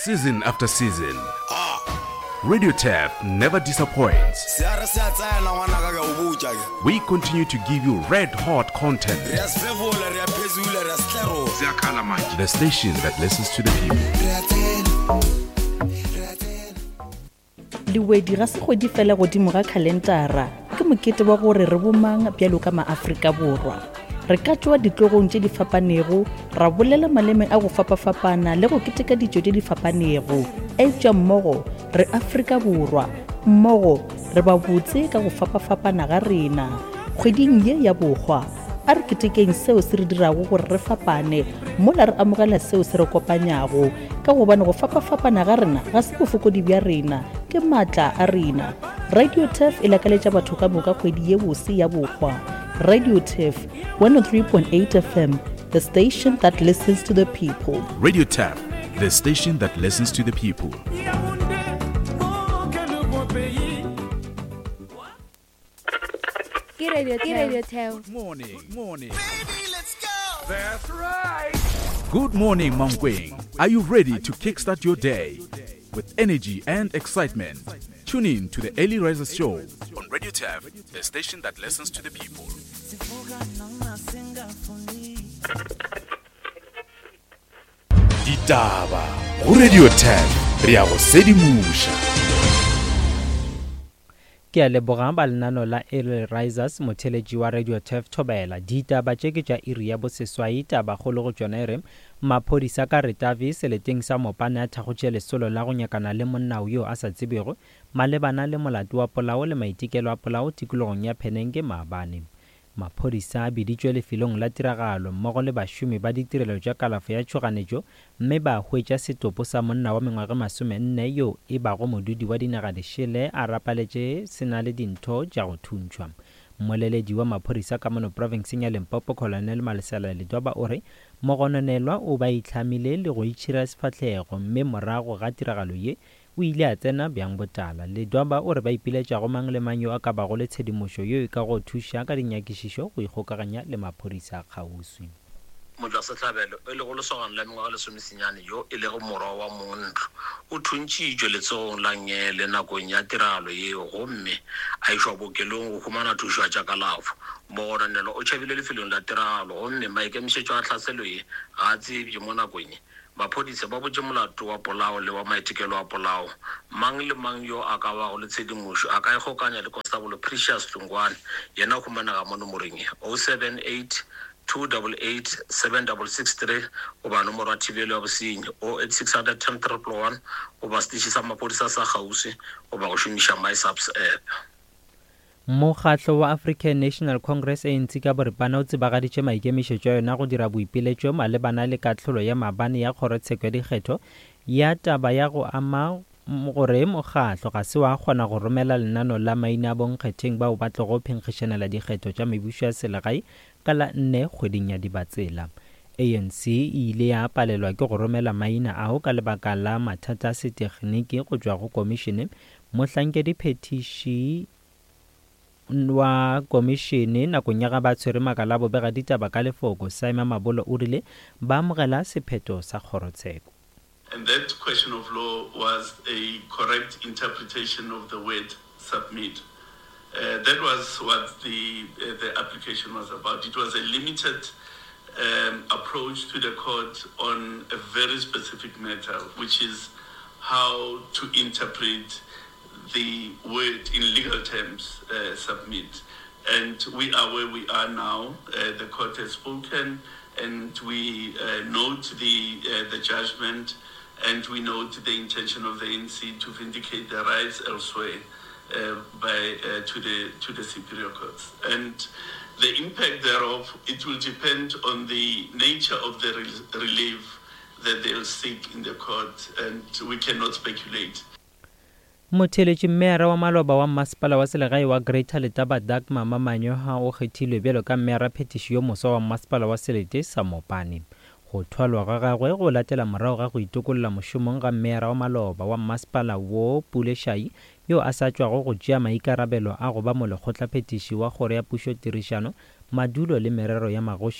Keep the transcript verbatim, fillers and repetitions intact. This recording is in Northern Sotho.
Season after season, Radio Turf never disappoints. Se a re se a tsena ngwanaka ke a o botša ke. We continue to give you red hot content. Re a sefefola, re a phezula, re a setlerola. Ziyakhala manje. The station that listens to the people. Re a tsena, re a tsena. Lewedi ga se kgwedi fela godimo ga khalentara, ke mokete wa gore re bomang bjalo ka maAfrika Borwa. Re ka tšwa ditlogong tše di fapanego, ra bolela maleme a go fapafapana le go keteka ditšo tše di fapanego. Eupša mmogo re Afrika Borwa, mmogo re ba botse ka go fapafapana ga rena. Kgweding ye ya bohwa, a re ketekeng seo se re dirago gore re fapane, mola re amogela seo se re kopanyago, ka gobane go fapafapana ga rena ga se bofokodi bja rena, ke maatla a rena. Radio Turf e lakaletša batho ka moka kgwedi ye bose ya bohwa. Radio Turf, one oh three point eight F M, the station that listens to the people. Radio Turf, the station that listens to the people. Ke Radio Turf. Radio Turf. Good morning. Good morning. Baby, let's go. That's right. Good morning, Mankweng. Are you ready to kickstart your day with energy and excitement? Tune in to the Early Risers Show on Radio Turf, the station that listens to the people. Ditaba go Radio Turf, re a go sedimoša. Ke a leboga ba lenano la Early Risers, motheletši wa Radio Turf Thobela. Ditaba tše ke tša iri ya boseswai, taba kgolo go tšona e re maphodisa ka Ritavi seleteng sa Mopane a thakgotše lesolo la go nyakana le monna yo a sa tsebego malebana le molato wa polao le maitekelo a polao tikologong ya Phenenge maabane. Maphodisa a biditšwe lefelong la tiragalo mmogo le bašomi ba ditirelo tša kalafo ya tšhoganetšo mme ba hwetša setopo sa monna wa mengwaga masomenne yo e bago modudi wa dinaga dišele a rapaletše se na le dintho tša go thuntšhwa. Mmoleledi wa maphodisa ka mono profenseng ya Limpopo Colonel Malesela Ledwaba o re mogononelwa o ba itlhamile le go itšhira sefahlego mme morago ga tiragalo ye o ile a tsena bjang botala. Ledwaba o re ba ipiletša go mang le mang yo a ka bago le tshedimošo yo e ka go thuša ka dinyakišišo go ikgokaganya le maphodisa a kgauswi. Motšwasehlabelo e lego lesogana la mengwaga lesomesenyane yo e lego morwa wa mongntlo o thuntšitšwe letsogong la ngele nakong ya tiragalo yeo gomme a išwa bookelong go humana thušo ya tša kalafo. Mogononelwa o tšhabile lefelong la tiragalo gomme maikemišetšo a tlhaselo ye ga a tsebje mo nakong ye. Maphodisa ba botše molato wa polao le wa maitekelo a polao. Mang le mang yo a ka bago le tshedimošo a ka ikgokanya le Constable Precious Hlongwane, yena o humanega mo nomorong ye oh seven eight two double eight seven double six three goba nomoro ya thibelo ya bosenyi oh eight six hundred ten triple one goba setiši sa maphodisa sa kgauswi goba go šomiša MySAPS app. Mokgatlo wa African National Congress A N C ka boripana o tsebagaditše maikemišetšo a yona go dira boipiletšo malebana le kahlolo ya maabane ya kgorotsheko ya dikgetho ya taba ya go ama gore mokgatlo ga se wa kgona go romela lenano la maina a bonkgetheng bao ba tlogo phenkgišanela dikgetho tša mebušo ya selegae ka la nne kgweding ya Dibatsela. A N C e ile ya palelwa ke go romela maina ao ka lebaka la mathata a setegniki go tšwa go komišene. Mohlankedi phetiši wa komišene nakong ya ga ba tshwere makala a bobega ditaba ka lefoko Simon Mabolo o rile ba amogela sephetho sa kgorotsheko. And that question of law was a correct interpretation of the word submit. Uh, that was what the, uh, the application was about. It was a limited, um, approach to the court on a very specific matter, which is how to interpret the word in legal terms, uh, submit. And we are where we are now. Uh, the court has spoken, and we, uh, note the, uh, the judgment, and we note the intention of the A N C to vindicate their rights elsewhere, uh, by, uh, to the, to the superior courts. And the impact thereof, it will depend on the nature of the re-, relief that they'll seek in the court, and we cannot speculate. Motheletši mmeara wa maloba wa masepala wa selegae wa Greater Letaba Dagmar Mamanyoha o kgethilwe bjalo ka mmeara phetiši yo moswa wa masepala wa selete sa Mopani. Go thwalwa ga gagwe go latela morago ga go itokolla mošomong ga mmeara wa maloba wa masepala wo Pule Shayi yo a sa tšwago go tšea maikarabelo a go ba molekgotlaphethiši wa kgoro ya pušo tirišano, madulo le merero ya magoši